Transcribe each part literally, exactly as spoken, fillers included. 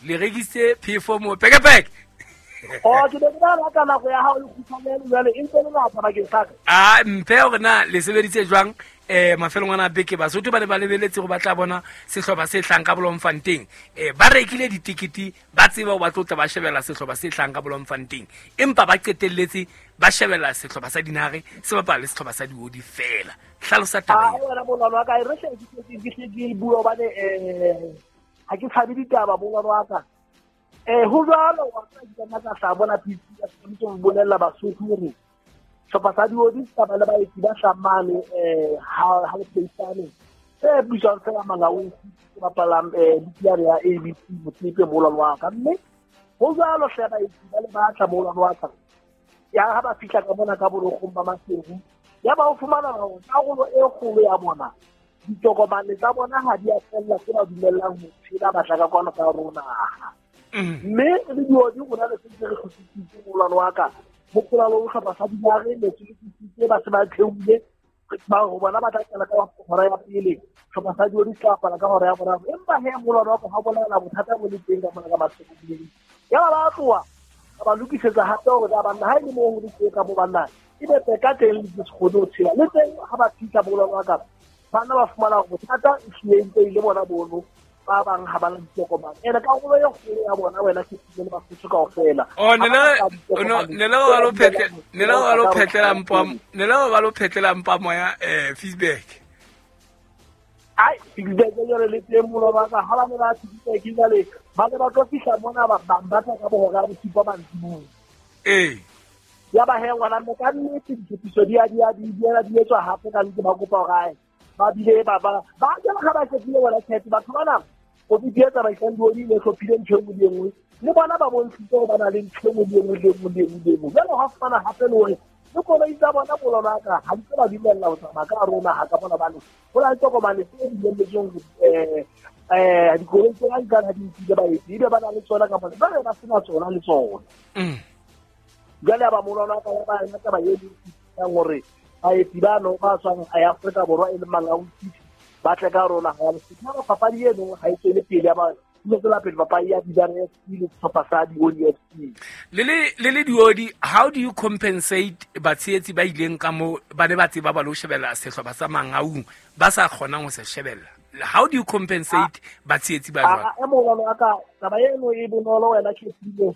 Le rekisitse phefo mo pekepeke. Oh, ke be ke rata nako ya hao le kgutshwane jwale e ntse le ngata bakeng sa ka. Ah, mphe hore na le sebeditse jwang eh mafelong ana a beke. Basotho ba ne ba lebeletse go batla bona sehlopha se hlang ka Bloemfontein. Eh ba rekile ditikiti, ba tseba ho ba tlotla ba shebella sehlopha se hlang ka Bloemfontein, empa ba qetelletse ba shebella sehlopha sa Dinare se bapala le sehlopha sa Diodi fela. Hlalosa taba ena. Ah, wena molwana wa ka, re hle ke ke hle ke bua hobane eh ha ke tshabe ditaba molwana wa ka. Eh ho jwalo wa ka ke nna ka sa bona P C ya tshwanetse ho bolella Basotho hore sehlopha sa Diodi se tsamaya le baeti ba hlamane eh ha ha le pleisane e bitswang fela Mangaung se bapalang eh league ya A B C Motsepe molwana wa ka. Mme ho jwalo hle baeti ba le batla molwana wa ka ya ha ba fihla ka mona ka borokgong ba Maseru ya ba o fumana hore karolo e kgolo ya bona ditokomane tsa bona ha di a fella tse ba dumellang ho tshela batla ka kwano ka rona. Mme le Diodi rona le sentse re kgutlisitse molwana wa ka hopola le sehlopha sa Dinare ne se lokisitse ba se ba theohile ba ho bona ba tla qala ka hora ya pele, sehlopha sa Diodi se tla bapala ka hora ya boraro. Empa he molwana wa ka ha bolela bothata bo le teng ka mona ka Maseru ya ba ba tloha ka ba lokisetsa hape hore ba banna ha e le moo ho le teng ka mo banna e be ka teng le se kgone ho tshela le teng ha ba fihla molwana wa ka bana ba fumana hore bothata e hlile ntse e le bona bono ba bang ha ba na ditokomane. Ene karolo e kgolo ya bona wena ke le Basotho kaofela. Oh, ne le ne le ba lo phetle ne le ba lo phetlela mpa ne le ba lo phetlela mpa moya eh feedback. Ai feedback jwale le teng molwana wa ka ha ba ne ba feedback jwale ba ne ba tlo fihla mona ba ba tla ka bohora ba bosupa mantsiboya. Eh ya ba he ngwana mme ka nnete ditshepiso di a di a di a di etswa hape ka ntse ba kopa hore ai ba bile ba ba ba jela ga ba tshepile wena tshepile batho bana komiti e tsamaisang Diodi e hlophile ntho e nngwe le e nngwe le bona ba bontshitse hore ba na le ntho e nngwe le e nngwe le e nngwe le e nngwe le e nngwe. Jwale hwa fumana hape le hore le koloi tsa bona molwana wa ka ha di tlo ba dumella ho tsamaya ka rona ha ka bona bane ho na le tokomane tse dumelletsweng eh eh dikoloi tsena di ka ha di nkile baeti ebe ba na le tsona ka mona jwale ba sena tsona le tsona. Jwale ya ba molwana wa ka ya ba yona taba e yang hore baeti bano ba tswang Afrika Borwa e leng Mangaung ba tle ka rona ha le sitha papadi eno ha e tswele pele ya ba le tswela pele papadi ya Dinare F C le sehlopha sa Diodi F C. Le le le le Diodi, how do you compensate batshehetsi ba ileng ka mo ba ne ba tseba ba lo shebella sehlopha sa Mangaung ba sa kgonang ho se shebella? How do you compensate batshehetsi ba jwalo? A e molwana wa ka taba eno e bonolo wena ke tsile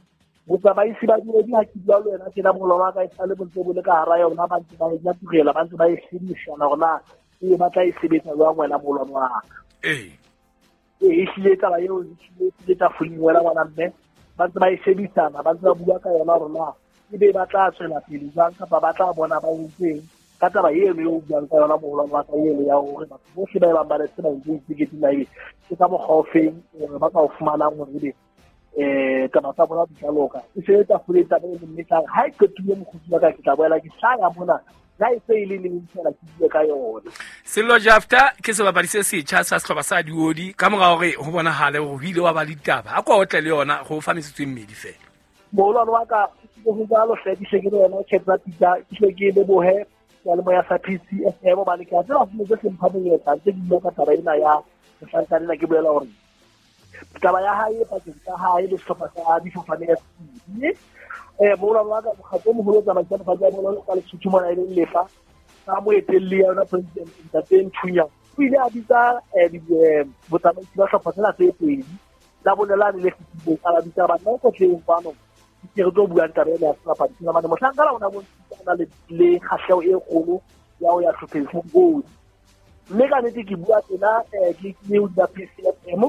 botsamaisi ba Diodi ha ke bua le wena tjena molwana wa ka e sale bontse bo le ka hara yona ba ntse ba e nyatugela ba ntse ba e shebisana hore na e batla e sebetsa jwang wena molwana wa ka. Eh e hlile taba eo e hlile e tafoleng wena ngwana mme ba ntse ba e shebisana ba ntse ba bua ka yona hore na ebe ba tla tswela pele jwang kapa ba tla bona ba entseng ka taba eno eo o buang ka yona molwana wa ka eno ya hore batho bohle ba e bang ba le se ba ntse ditekete na ebe ke ka mokgwa o feng ba ka o fumanang hore ebe eh taba tsa bona di tla loka. E se tafoleng taba eno mme tla ha e qetile mokgotsi wa ka ke tla boela ke hlaya mona la e se ile le fela ke bue ka yona. Sello Jafta ke sebapadi se setjha sa sehlopha sa Diodi ka mora hore ho bonahale hore ho ile wa ba le ditaba a kwa otle le yona go fa metsotso e mmedi fela. Molwana wa ka ke ho jwalo hle ke hle ke le wena Captain Peter ke hle ke lebohe seyalemoya sa P C F M hobane ke a tseba ho tse mpha monyetla ntse ke bua ka taba ena ya mohlankana ena ke bolela hore taba ya hae pakeng tsa hae le sehlopha sa Difofane F C mme eh molwana wa ka mokgatlo o moholo o tsamaisang lefatshe la bolo ka Lesotho mona e leng Lefa ka moetelli ya yona president Ntate Nthunya o ile a bitsa botsamaisi ba sehlopha sena tse pedi la bone lane le fetileng a ba bitsa banna ko tleng kwano ke re tlo buang taba ena ya sebapadi sena mane mohlankana o na bontshitse a na le le kgahleho e kgolo ya ho ya hlopheng sa Diodi. Mme ka nnete ke bua tjena ke ke hodima P C F M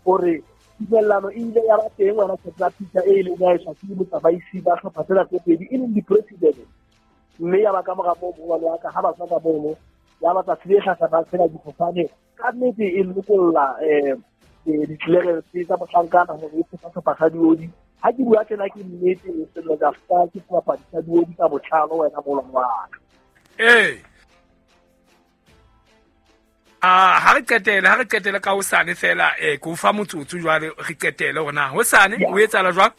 hore tumellano e ile ya ba teng wena Captain Peter e ileng ya etswa ke botsamaisi ba hlopha tsena tse pedi e leng di-president. Mme ya ba ka mora moo molwana wa ka ha ba tswa ka mono ya ba tsatsi le hlahlamang sena difofane ka nnete e lokolla um di-clearance tsa mohlankana hore e sefa sehlopha sa Diodi. Ha ke bua tjena ke nnete Sello Jafta ke sebapadi sa Diodi ka botlalo wena molwana wa ka. Eh Ah, ha re qetele ha re qetele ka hosane fela eh ke o fa motsotso jwale re qetele hore na hosane o etsahala jwang?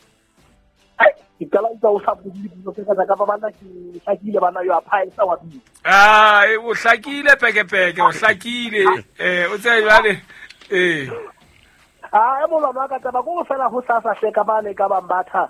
Ai ke qala ntse o sa bue dipotso tse ka kapa bana ke hlakile bana yo a phaesa wa bina. Ah, o hlakile pekepeke o hlakile eh o tsebe jwale eh A e molwana wa ka taba ko fela ho sasa hle ka bane ka bambatha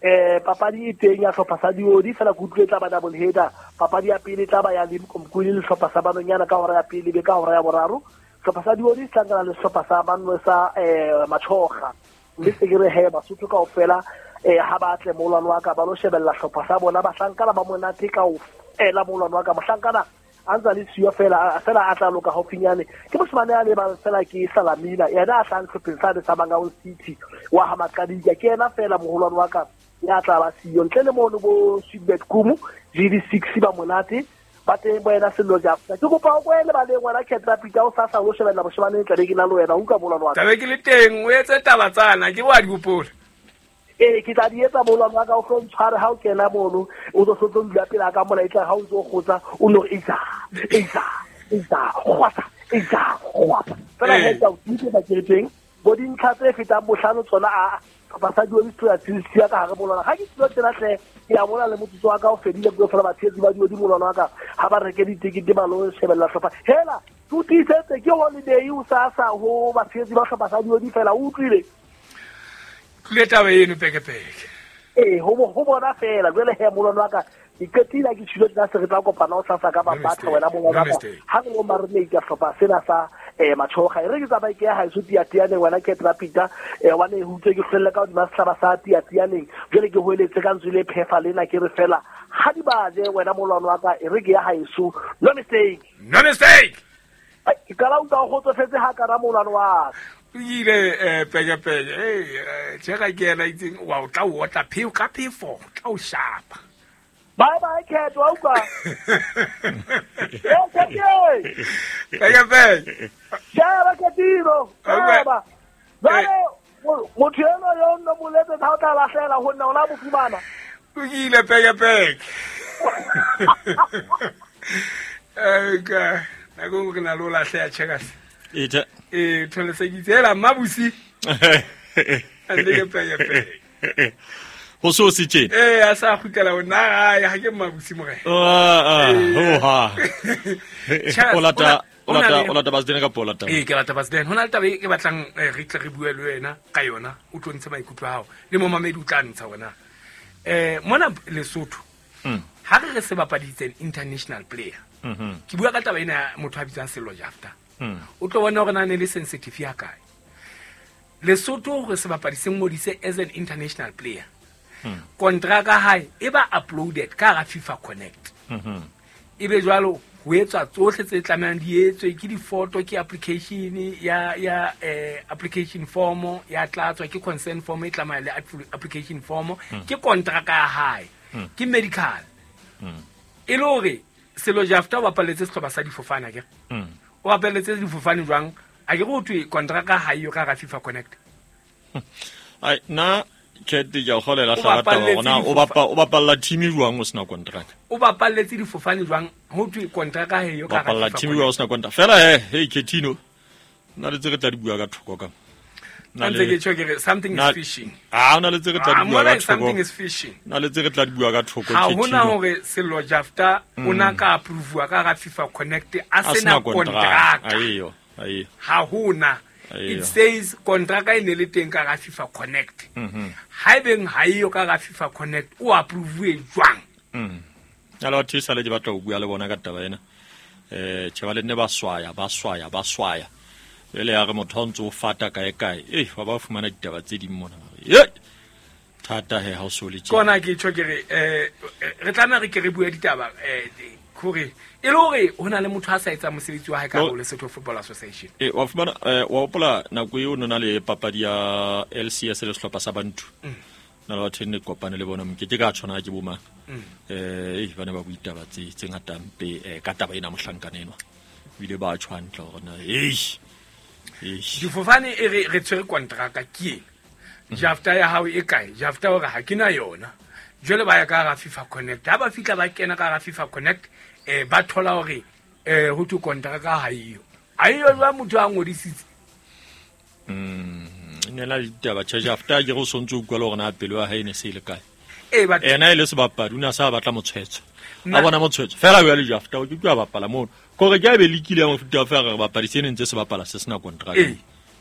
eh papadi e teng ya hlopha sa diodi fela ke utlwe tla ba double header. Papadi ya pele tla ba ya Limkomkhulu le hlopha sa Banonyana ka hora ya pele be ka hora ya boraro. Hlopha sa diodi se hlangana le hlopha sa Banwe sa eh Machoga. Mme se ke re he Basotho kaofela eh ha ba tle molwana wa ka ba lo shebella hlopha sa bona bahlankana ba monate kaofela molwana wa ka mohlankana a ntsa le siyo fela fela a tla loka haufinyane ke moshemane a lebang fela ke Salamina yena a tlang hlopheng sa sa Mangaung City wa ha Maqadika ke yena fela moholwane wa ka ya tla ba siyo ntle le mono bo Sweetbet Kumu G D six ba monate ba teng bo yena Sello Jafta ke kopa o kwele ba le ngwana Ketra Peter o sasa o shebella moshemane tla be ke na le wena o utlwa molwana wa ka tlabe ke le teng o etse taba tsana ke wa di hopola. Ee ke tla di etsa molwana wa ka o tlo ntshware ha o kena mono o tlo tlo dula pele ka mola e tla ha o ntso kgotsa o no isa isa isa kgwasa isa kgwasa fela he tla o tse ba ke teng bo dintlha tse fetang bohlano tsona a basadi ba dithuya tse ka hare molwana ga ke tlo tsena hle ke a bona le motsotso wa ka o fedile ke fela batshetsi ba dio di molwana wa ka ha ba reke ditekete ba lo shebella hlopha hela o tiisetse ke holiday o sasa ho batshetsi ba hlopha sa dio di fela o utlwile le taba eno pekepeke. Ee ho ho bona fela jwale he molwana wa ka ke qetile ke tshilo tsa se re tla kopana o sasa ka ba batho wena molwana wa ka ha re lo marinate hlopha sena sa eh Machoga e re ke tsamai ke ya haeso Tiatianeng wena Ketra Peter eh wane ho utlwe ke hlelle ka hodima sehlaba sa Tiatianeng jwale ke hoeletse ka ntswe le phefa lena ke re fela ha di baje wena molwana wa ka e re ke ya haeso no mistake no mistake ke qala utlwa go kgotsofetse ha ka ra molwana wa ka o ile eh pekepeke eh tjeka ke yena itseng wa o tla o otla pheo ka phefo tla o shapa. Bye bye Cat wa utlwa eh Cat pekepeke shaba Catino shaba jwale motho eno yo nno mo letsetsa ha o tla lahlela ho nna o la mo fumana o ile pekepeke eh ka nako ke na lo lahleha checkers ita e thole Mmabusi ande ke pekepeke ho so se tjena eh a sa kgutlela ho nna gae ha ke Mmabusi morena ah ah ho ha o lata o lata o lata Basden ka pola taba eh ke lata Basden hona le taba e ke batlang re tle re bue le wena ka yona o tlo ntshe maikutlo a hao le momamedi o tla ntsha wena eh mona Lesotho ha re re se bapaditseng international player ke bua ka taba ena motho a bitsang Sello Jafta o tlo bona hore na ne le sensitive ya kae Lesotho re se bapadi se ngodise as an international player kontraka hae e ba uploaded ka ga FIFA Connect e be jwalo ho etswa tsohle tse tlamehang di etswe ke di-photo ke application ya ya eh, application form ya tlatswa ke consent form e tlamaya le application form ke kontraka ya hae ke medical e le hore Sello Jafta o bapaletse sehlopha sa difofane akere o bapaletse difofane jwang a ke go thwe kontraka ha eyo ka ga FIFA Connect ai na Cat ya kgolela hlaka taba ona o bapa o bapalla team jwang o sena contract o bapalletse difofane jwang ho thwe kontraka ha eyo ka ga bapalla team jwang o sena contract fela he hey Ketino nna le tse re tla di bua ka thoko ka nna le ke tjho ke re something is fishing ah ona le tse re tla di bua ka thoko something is fishing nna le tse re tla di bua ka thoko Ketino ha hona hore Sello Jafta o na ka approve ka ga FIFA Connect a sena contract ayo ayo ha hona it says kontraka e ne le teng ka ga FIFA Connect ha ebeng ha eyo ka ga FIFA Connect o approve jwang mm ala batho sale ke batla ho bua le bona ka taba ena eh tjhe ba le nne ba swaya ba swaya ba swaya ele ya re motho o ntse o fata kae kae eh ba ba fumana ditaba tse ding mona ye thata he ha o so le tje kona ke tjho ke re eh re tlameha re ke re bue ditaba eh hore e le hore ho na le motho a sa etsang mosebetsi wa hae ka ho Lesotho Football Association eh wa fumana wa hopola nako eo nona le papadi ya L C S le sehlopha sa Bantu na le batho ne kopane le bona mokete ka tshwana ke bo mang eh eh ba ne ba bua ditaba tse tse ngata mpe ka taba ena mohlankana enwa ebile ba tshwa hantle hore na eh difofane e re re tshwere kontraka ke eng Jafta ya hao e kae Jafta hore ha ke na yona jwale ba ya ka ga FIFA Connect ha ba fihla ba kena ka ga FIFA Connect eh ba thola hore eh ho thwe kontraka ha eyo ha eyo jwa motho a ngodisitse mm ne la ditaba tsa Jafta ke go sontse o utlwa le hore na pelo ya hae ne se ile kae eh ba ena e le sebapadi o ne a sa batla motshwetso a bona motshwetso fela o ya le Jafta o ke tla bapala mono kore ke a be lekile ya mofuta wa fela re bapadi se ne ntse se bapala se sena kontraka eh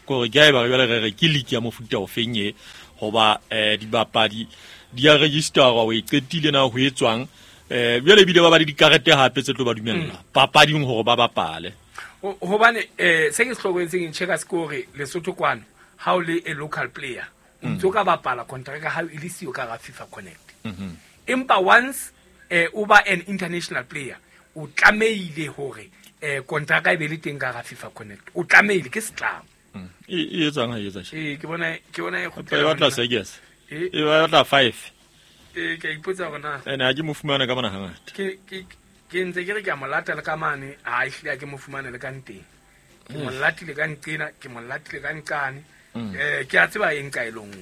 Gore ke a e ba jwale re re ke league ya mofuta o feng e hoba eh dibapadi di a registerwa o e qetile na ho etswang eh jwale ebile ba ba le dikarete hape tse tlo ba dumella papading hore ba bapale. Hobane eh se ke hlokometseng Checkers ke hore Lesotho kwano ha o le a local player o ntso ka bapala contract ha e le siyo ka ga FIFA Connect. Empa once eh o ba an international player o tlamehile hore eh contract e be le teng ka ga FIFA Connect, o tlamehile ke setlamo. E e etsang ha e etsa tjhe? Ke bona ke bona e kgutlela e batla seges e batla five. Eh ke ipotsa hore na ene ha ke mo fumana ka bona hangata. Ke ke ke ntse ke re ke a mo lata le ka mane, ha e hlile ke mo fumane le ka nteng. Ke mo latile ka nqena, ke mo latile ka nqane. Eh ke a tseba eng ka elong.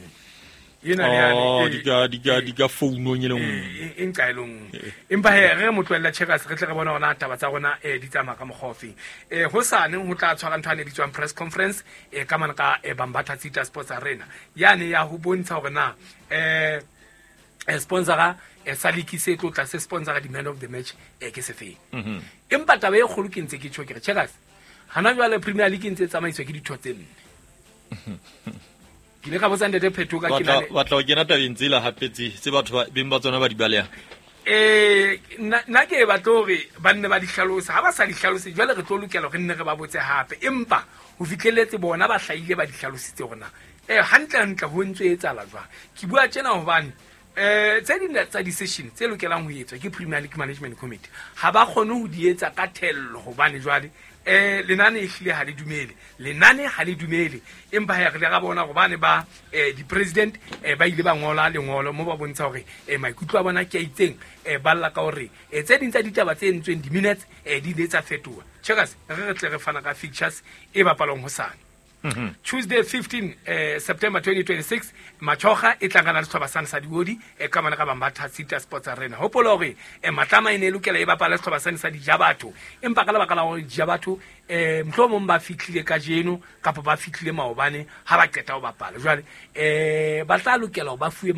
Ena le yane di ka di ka di ka founong e le nngwe. Eng ka elong. Empa he re mo tlohella Checkers re tle re bona hore taba tsa rona eh di tsamaya ka mokgwa ofeng. Eh hosane ho tla tshwara ntho ane bitswang press conference eh ka mane ka Bambatha Tsita Sports Arena. Yane ya ho bontsha hore na eh sponsora e sa league se tlo tla se sponsora di man of the match e ke se feng. Empa taba e kgolo ke ntse ke tjho ke re Checkers hana jwale Premier League ntse tsamaiswa ke ditho tse nne. Ke le ka botsa Ntate Phetho ka ke na batla ho kena tabeng tsela hape tse tse batho ba beng ba tsona ba di baleha. Eh nna ke batla hore ba nne ba di hlalosa, ha ba sa di hlalose jwale re tlo lokela hore nne re ba botse hape, empa ho fihlelletse bona ba hlahile ba di hlalositse hore na eh hantle hantle ho ntse etsahala jwang. Ke bua tjena hobane eh tse ding tsa di-session tse lokelang ho etswa ke Premier League Management Committee ha ba kgone ho di etsa ka thello hobane jwale eh lenane e hlile ha le dumele, lenane ha le dumele. Empa ha re le ra bona hobane ba eh di-president eh ba ile ba ngola lengolo mo ba bontsha hore eh maikutlo a bona ke a itseng, eh ba lla ka hore eh tse ding tsa ditaba tse entsweng di-minutes eh di ile tsa fetoha. Checkers re re tle re fana ka fixtures e bapalwang hosane. Mm-hmm. Tuesday fifteen eh, September twenty twenty-six Machoga e tlangana le setlhopha sane sa Diodi e ka mane ka Bambatha Tsita Sports Arena. Hopola hore eh, Matlama e ne e lokela e bapala setlhopha sane sa Dijabatho, empa ka lebaka la hore Dijabatho eh mohlomong ba fihlile kajeno kapa ba fihlile maobane ha ba qeta ho bapala jwale eh ba tla lokela hore ba fuwe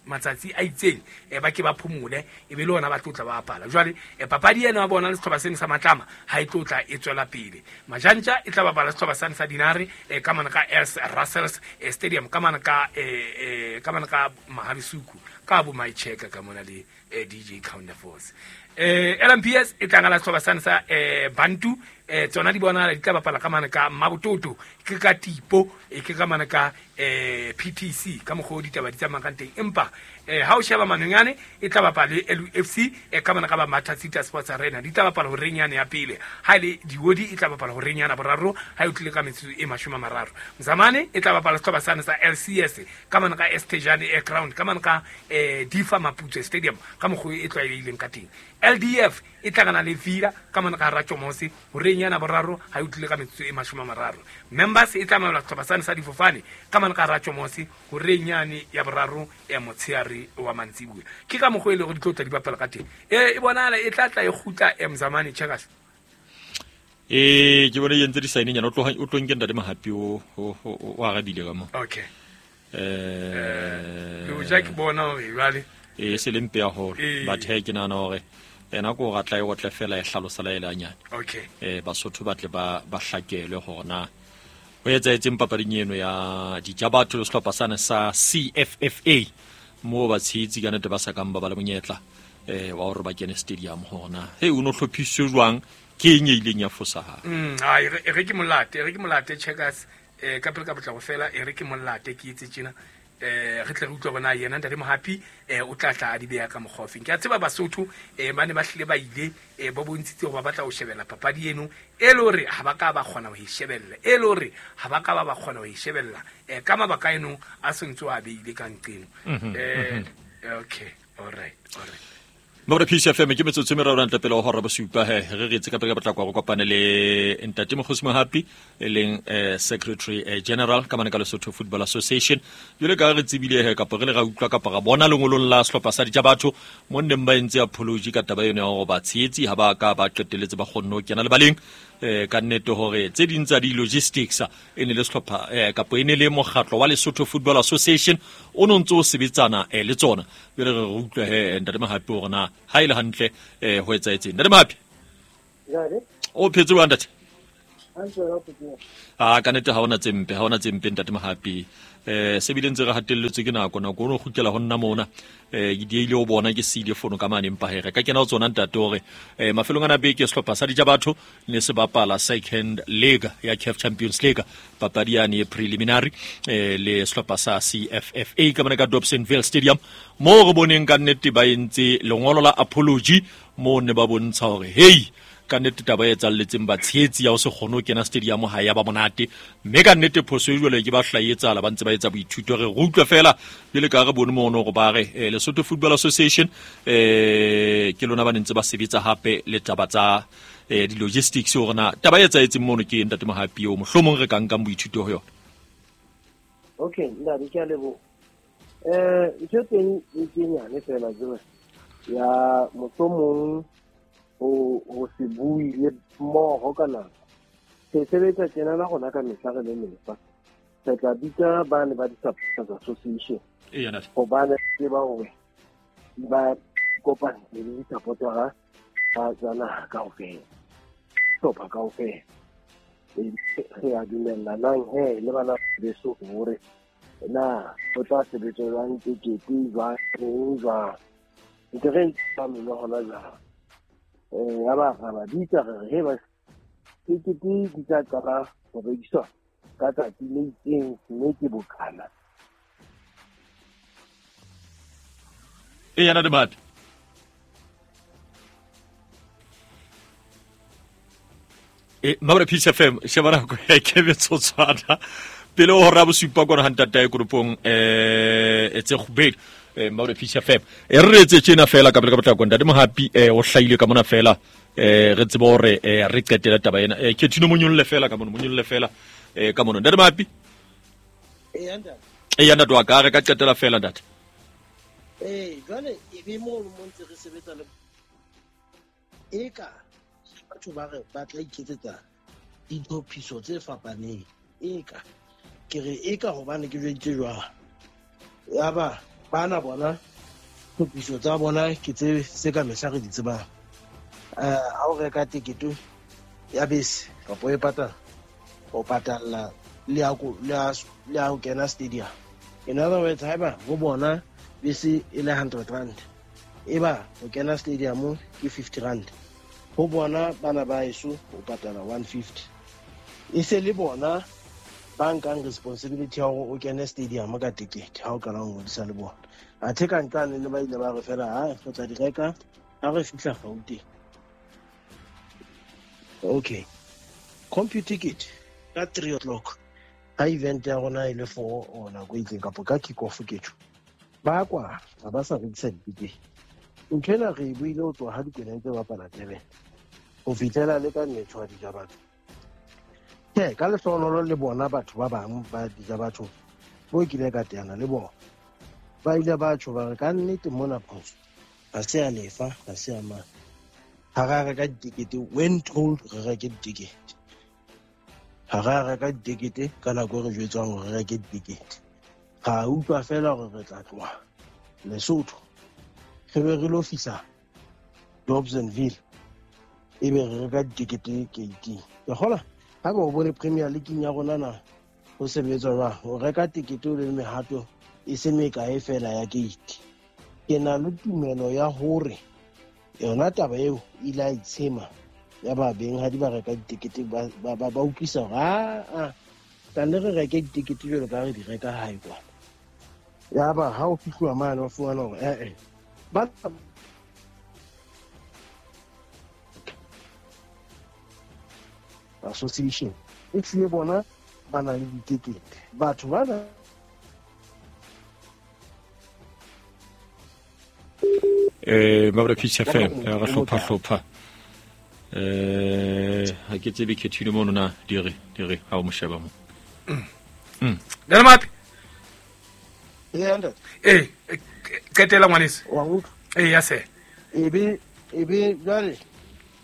matsatsi a itseng eh ba ke ba phomole e be le hona ba tlotla ba bapala. Jwale eh, papadi ena ya bona le setlhopha sene sa Matlama ha e tlotla e tswela pele. Majantja e tla bapala setlhopha sane sa Dinare eh, ka mane ka Els Russells eh, Stadium ka mane ka eh, eh, ka mane ka Maharisuku ka bo Maicheka ka mona le eh, D J Counter Force. Eh, L M P S e tla ngala setlhopha sane sa eh, Bantu eh tsona di bona di tla bapala ka mane ka Mabototo ke ka Tipo e ke ka mane ka eh P T C ka mokgwa o ditaba di tsamayang ka teng. Empa eh ha o sheba Manonyane e tla bapala le L U F C e ka mane ka Bambatha Tsita Sports Arena di tla bapala horeng yane ya pele, ha ile Diodi e tla bapala horeng yana boraro ha e tlile ka metsotso e mashome a mararo. Mzamane e tla bapala setlhopha sane sa L C S ka mane ka Estejane Air Ground ka mane ka eh Difa Maputsoe Stadium ka mokgwa e tlwaelehileng ka teng. L D F e tlangana le Vila ka mane ka Ratjomose horeng yana boraro ha e tlile ka metsotso e mashome a mararo. Members e tla mamela setlhopha sane sa Difofane ka mane ka Ratjomose horeng yane ya boraro ya motsheare wa mantsibuya. Ke ka mokgwa e le hore di tlo tla di bapala ka teng. E e bonahala e tla tla e kgutla e Mzamane Checkers. Eh ke bone e entse di-signing yana o tlo o tlo nke Ntate Mohapi o o arabile ka mo. Okay. Eh le ja ke bona hore jwale e se le mpe ya hore but he ke nahana hore ena ko ratla e otle fela e hlalosa la ele hanyane. Okay. Eh Basotho ba tle ba ba hlakelwe hore na ho etsaetseng papading eno ya Dijabatho le sehlopha sane sa C F F A mo ba tshehetsi ka nnete ba sa kang ba ba le monyetla eh wa hore ba kene stadium hore na he o no hlophiswe jwang ke eng e ileng ya fosahala. Mm ai e re ke molate e re ke molate Checkers eh ka pele ka potlako fela e re ke molate ke itse tjena eh re tle re utlwe bona yena Ntate Mohapi eh o tla tla a di beha ka mokgwa ofeng. Ke a tseba Basotho eh ba ne ba hlile ba ile eh ba bontshitse hore ba batla ho shebella papadi eno e le hore ha ba ka ba kgona ho e shebella, e le hore ha ba ka ba ba kgona ho e shebella eh ka mabaka eno a sentse a beile ka nqeno. Eh okay, all right, all right. Mabra P C F M ke metsotso e meraro ntle pele ho hora bosupa he re re etse ka pele ka potlako go kopane le Ntate Mokgosi Mohapi e leng eh, Secretary eh, General ka mane ka Lesotho Football Association. Jwale ka re tsebile he kapa re le ra utlwa kapa ra bona lengolong la sehlopha sa Dijabatho mo nneng ba entse apology ka taba eno ya hore batshehetsi ha ba ka ba qetelletse ba kgonne ho kena lebaleng eh ka nnete hore tse ding tsa di-logistics e ne le sehlopha eh kapa e ne le mokgatlo wa Lesotho Football Association o no ntse o sebetsana eh, le tsona. Jwale re re utlwe he Ntate Mohapi hore na ha ile hantle eh ho etsaetseng. Ntate Mohapi, o phetse jwang ntate? A ka nete ha ona tse mpe, ha ona tse mpe ntate Mohapi. Eh se bile ntse re hatelletswe ke nako, nako o kgutlela ho nna mona. Eh ke diile o bona ke siile fono ka mane empa here ka kena ho tsona ntate hore eh mafelong ana beke sehlopha sa Dijabatho ne se bapala second leg ya C A F Champions League, papadi ya ne preliminary eh le sehlopha sa C F F A ka mane ka Dobsonville Stadium, mo re boneng ka nnete ba entse lengolo la apology mo ne ba bontsha hore hey ka nnete taba e etsalletseng batshehetsi ya ho se kgone ho kena stadium ha ya ba monate, mme ka nnete phoso e jwale ke ba hlaetsahala ba ntse ba etsa boithuto. Re utlwe fela jwale ka re bone mono hore ba re Lesotho Football Association eh ke lona ba ne ntse ba sebetsa hape le taba tsa di-logistics hore na taba e etsahetseng mono ke ntate Mohapi eo mohlomong re ka nkang boithuto ho yona. Okay, ntate ke a leboha. Eh ntho teng e ke nyane fela jwe ya mohlomong o o se bue le mmoho ka nako. Se sebetsa tjena la rona ka mehla re le mefa. Re tla bitsa bane ba di-supporters association. Hobane tseba hore ba kopane le di-supportera tsa naha kaofela, hlopha kaofela. Re a dumellanang he le bana beso hore na ho tla sebetsa jwang, tekete jwang, jwang. Ntse re ntse ba hona jwang. Eh ya ba ba bitsa re he ba tekete di tla qala ho rekiswa ka tsatsi le itseng mme ke bokana. E yana de bat. E mabra Peace F M sheba nako e ke metsotswana pele ho hora bosupa kwana ha ntatae koropong eh e tse kgubedi. Eh mabra Peace F M e re etse tjena fela ka pele ka potlako ntate Mohapi eh o hlaile ka mona fela eh re tsebe hore eh re qetela taba ena eh Kethino monyolle fela ka mona monyolle fela eh ka mona ntate Mohapi. Eh ntate eh ya ntate wa ka re ka qetela fela ntate. Eh jwale e be mo mo ntse re sebetsa le e ka batho ba re ba tla iketsetsa ditlhophiso tse fapaneng e ka ke re e ka hobane ke jweditse jwang ya ba bana bona tlhophiso tsa bona ke tse se ka mehla re di tsebang. Eh ha o reka tekete ya bese kapa e patala o patalla le ya le ya ho kena stadium. In other words, haeba ho bona bese e le hundred rand e ba ho kena stadium ke fifty rand, ho bona bana ba eso o patala one fifty. E se le bona ba nkang responsibility ya hore o kene stadium ka tekete ha o qala ho ngodisa le bona. Athe ka nqane le ba ile ba re fela ha re tla di reka ha re fihla Gauteng. Okay, compute ticket ka three o'clock ha event ya rona e le four or nako e itseng kapa ka kick off ke tjho ba kwa ha ba sa rekisa ditikete. Ntho ena re e buile ho tloha ha Dikwena tse bapala Durban ho fihlela le ka mmetho wa Dijabatho. Tjhe, ka lehlohonolo le bona batho ba bang ba Dijabatho bo kile ka teana le bona ba ile ba tjho ba re ka nnete mona phoso ha se ya lefa ha se ya mang ha ra reka ditekete when told re reke ditekete ha ra reka ditekete ka nako re jwetswang hore re reke ditekete. Ra utlwa fela hore re tla tloha Lesotho re be re lo fihla Dobsonville ebe re reka ditekete gate. Ke kgola ha ba o bone Premier League ya rona na ho sebetswa jwang o reka tekete o le mehato e se mekae fela ya gate. Ke na le tumelo ya hore yona taba eo ile a itshema ya ba beng ha di ba reka ditekete ba ba ba utlwisa hore a tla re reke ditekete jwalo ka re di reka hae kwana. Ya ba ha o fihluwa mane o fumana hore eh eh ba association e tlile bona ba na le ditekete batho bana eh mabra Peace F M re hlopha hlopha eh ha ke tsebe Khethino mono na dire dire ha o mo sheba mo. Mm. Ntate Mohapi. Eh ntate. Eh qetela ngwaneso. Wa utlwa? Eh ya se. E be e be jwale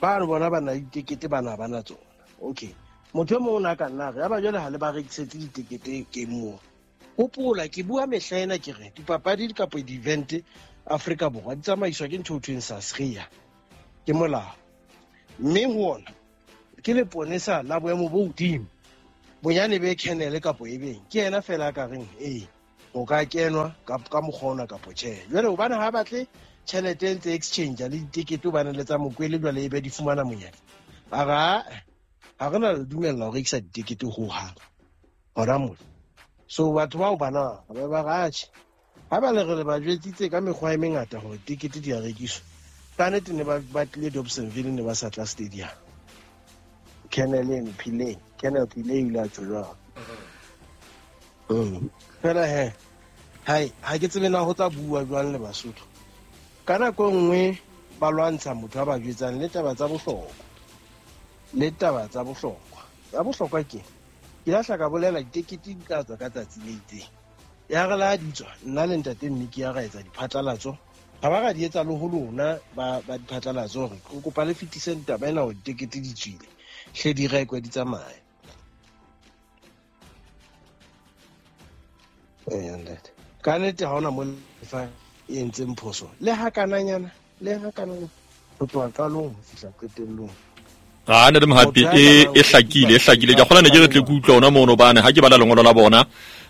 ba re bona ba na ditekete bana ba na tsona. Okay. Motho e mong o na ka nna re ya ba jwale ha le ba rekisetse ditekete ke moo. Hopola ke bua mehla ena ke re dipapadi kapa di-event Afrika Borwa di tsamaiswa ke ntho e thweng SASRIA ke molao. Mme ho ona Ke leponesa la boemo bo hodimo. Bonyane be kennel kapo e beng. Ke yena fela ka reng eh o ka kenwa ka ka mokgona kapo tjhe. Jwale hobane ha batle tjhelete ntse exchange le ditikete bana le tsa mokwele jwale e be di fumana monyane. Ara ha re na le dumella ho rekisa ditikete ho hang. Hona mo. So batho bao bana ba ba ratjhe. Ha ba le re le ba jwetsitse ka mekgwa e mengata hore tikete di a rekiswa. Ka nnete ne ba batlile Dobsonville ne ba sa tla stadium. Kennel eno Pillay, Kennel Pillay o ile a tjho jwalo. Mm. Fela he, hai, ha ke tsebe na ho tla bua jwang le Basotho. Ka nako e nngwe ba lwantsha motho a ba jwetsang le taba tsa bohlokwa. Le taba tsa bohlokwa. Tsa bohlokwa ke ke lahla ka bolela ditekete di tla tswa ka tsatsi le itseng. Ya re la di tswa, nna le ntate Mmiki ya ra etsa diphatlalatso. Ha ba ra di etsa le ho lona ba ba diphatlalatso hore re kopa le fetise taba ena hore ditekete di tswile. Hle di rekwe di tsamaye. Eh ntate. Ka nnete ha hona mo lefa e entseng phoso. Le ha kananyana, le ha kananyana ho tloha qalong ho fihla qetellong. Ah ntate Mohapi e e hlakile e hlakile ke kgona ne ke re tle ke utlwa ona mono bane ha ke bala lengolo la bona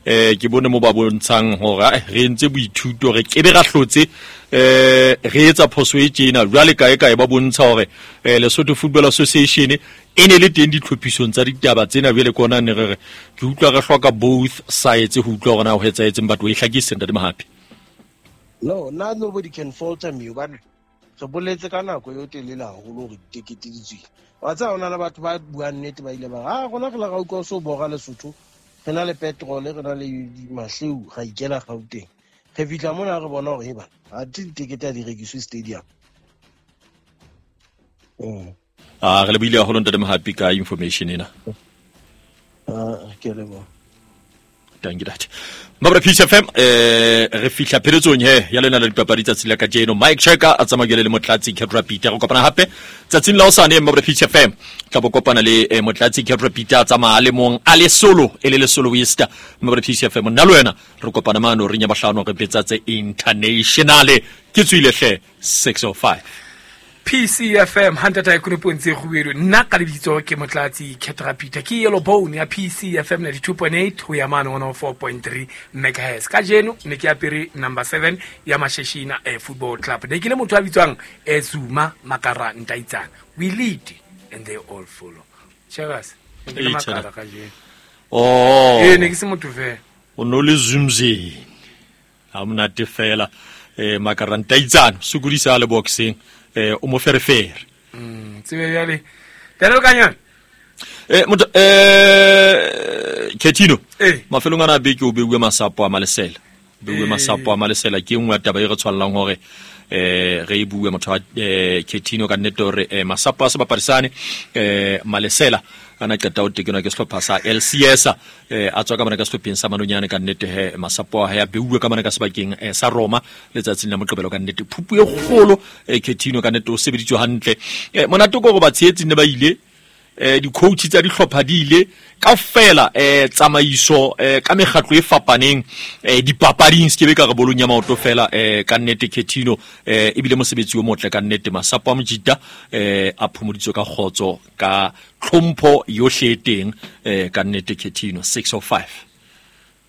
eh ke bone mo ba bontshang hore re entse boithuto re kebe ra hlotse eh re etsa phoso e tjena jwale kae kae ba bontsha hore Lesotho Football Association e ne le teng ditlhophisong tsa ditaba tsena jwale ke ona ne re re ke utlwa re hloka both sides ho utlwa hore na ho etsahetseng batho e hlakise ntate Mohapi. No, na nobody can falter me hobane re boletse ka nako eo telele haholo hore ditekete di tswile. Wa tseba hona le batho ba buang nnete ba ile ba ah rona re la ra utlwa so bora Lesotho re na le petrol re na le mahleu ra ikela Gauteng. Re fihla mona re bona hore eba ha ditekete di rekiswe stadium. Mm. Ah re le buile haholo ntate Mohapi ka information ena. Ah ke leboha. Thank you that. Mabra P C F M eh re fihla pheletsong he ya lena la dipapadi tsatsi la kajeno. Mike Checker a tsamaya le Motlatsi Ketra Peter re kopana hape tsatsing la hosane Mabra P C F M tla bo kopana le eh, Motlatsi Ketra Peter a tsamaya le mong a le solo e le le solo Wester Mabra P C F M nna le wena re kopana mano re nya bahlano re betsa tse international ke tswile hle six oh five P C F M hantata e konopontse kgubedu nna ka lebitso ke Motlatsi Ketra Peter ke Yellow Bone ya P C F M ninety-two point eight ho ya mane one oh four point three megahertz. Kajeno ne ke apere number seven ya Masheshina eh, Football Club. Ne ke le motho a bitswang eh, Zuma Makara Ntaitsana. We lead and they all follow. Cheers. Ne ke le Makara kajeno. Oh. Eh ne ke se motho fela. O no le Zumzi. Ha monate fela eh Makara Ntaitsana sokodisa le boxing. Eh o mo ferefere. Mm, tsebe jale. Daniel Kanyane. Eh motho eh Ketino. Eh. Mafelong ana beke o beuwe masapo a Malesela. Beuwe masapo a Malesela ke nngwe ya taba e re tshwallang hore eh re e bue motho wa eh Ketino ka nnete hore eh, masapo a sebapadisane eh Malesela ana qeta o tekenwa ke sehlopha sa L C S eh a tswa ka mona ka sehlopheng sa Manonyane ka nnete he masapo a hae a beuwe ka mona ka sebakeng eh, sa Roma letsatsing la Moqebelo ka nnete phupu e kgolo eh, Ketino ka nnete o sebeditswe hantle eh, monate ko go ba tshehetsi ne ba ile eh di-coach tsa dihlopha di ile kaofela eh tsamaiso eh ka mekgatlo e fapaneng eh dipapading se ke be ka re bolong ya maoto fela eh ka nnete Ketino eh ebile mosebetsi o motle ka nnete masapo a mojita eh a phomoditswe ka kgotso ka tlhompho yohle e teng eh ka nnete Ketino six oh five.